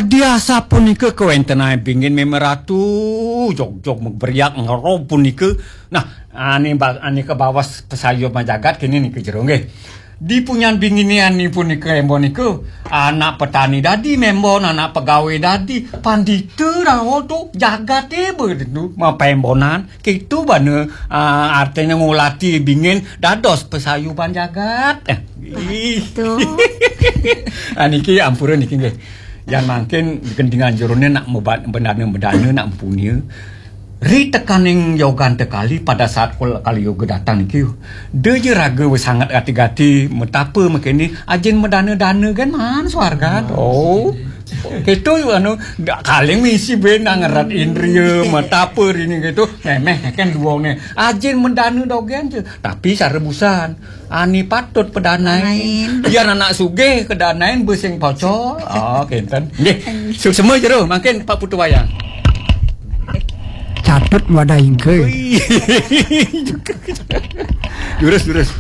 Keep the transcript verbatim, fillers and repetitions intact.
Diasa punika kawentenan bingin memeratu, jog-jog meberiak ngerob punika. Nah, ane ba-, ane ke bawas pesayuban jagat kene nika jero nggih. Di punyan bingine ane punika embo nika, anak petani dadi membon, anak pegawai dadi, pandita rawa tu jagate begitu mapembonan. Kitu bana, ah, artine ngulati bingin dados pesayuban jagat. Eh, ih. Betul. Ah, niki ampura niki nggih. Yan mangkin gendingan jerone nak meba-, bendana-bendana nak mempunia. Ri tekaning yogan tekali pada saat kul-, kali yoga datang niki. Deja raga wis sangat gati-gati, metapa mekene, ajin medana-dana kan man swarga. Oh. Keto anu, dak kaling misi ben nang ngerat indria, metapa rini gitu. Memeh kan duonge. Ajin medana dogen je. Tapi sare busan. Ani patut pedanain. Pedanain. Yan anak sugih kedanain besing pocol. Ah, kenten. Nggih. Suksema jero, mangkin Pak Putu Wayang. Catut wadah ingke. Ui. Durus, durus.